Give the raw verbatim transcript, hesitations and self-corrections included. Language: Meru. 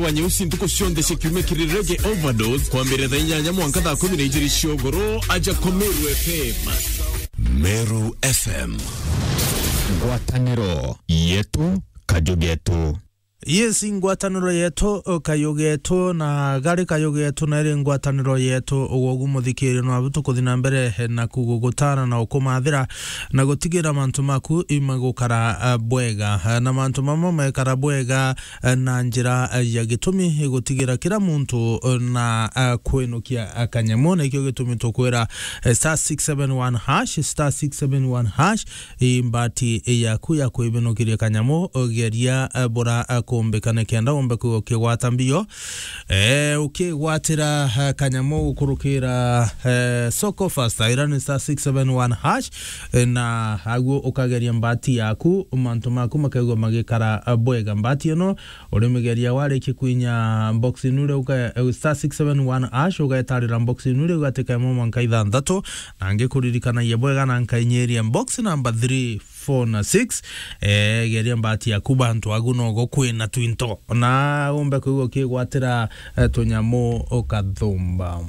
wa nyeusi ntuku cionthe cia kiumia kiri Reggae Overdose, kwambiriria thaa inyanya mwanka thaa kumi na ijiri cia ugoro, aja Komeru F M. Meru F M. Ngwataniro yetu, kaju getu. Yes, ngwataniro yetu, kaju getu, na gari kaju getu, na iri ngwataniro yetu, ugwogu muthikirio nwabu tukuthi na mbere, eh, na kugugutara na ukumathira, na gutigira mantu maku imagukara, eh, bwega. Eh, na mantu mamwe mekara bwega, eh, na njira, eh, ya gitumi, eh, gutigira kira muntu, eh, na, eh, kwinukia, eh, kanyamu, na ikio gitumi tukwira, eh, star six seven one hash, star six seven one hash, i mbati yaku ya kwibinukiria kanyamu, geria, eh, bura, eh, kumbika nikenda umbe kwigua ukigwata mbio. Eh, ukigwatira, eh, kanyamu gukurukira, eh, soko fast, ira ni star six seven one hash, eh, na aguo ukageria mbati yaku, mantu maku makaigua magikara, eh, bwega. Mbati ino urimigeria warikia kwinya box inu riu uka-, eh, star six seven one hash, ugetarira box inu riu gatika imwe mwanka ithanthatu, na ngikuririkanagia bwega na nkainyiria box number three, four na six. Eh, geria mbati yaku bantu agu nogo kwina twinto. Na umbe kwigua ukigwatira, eh, tunyamu ukathumba.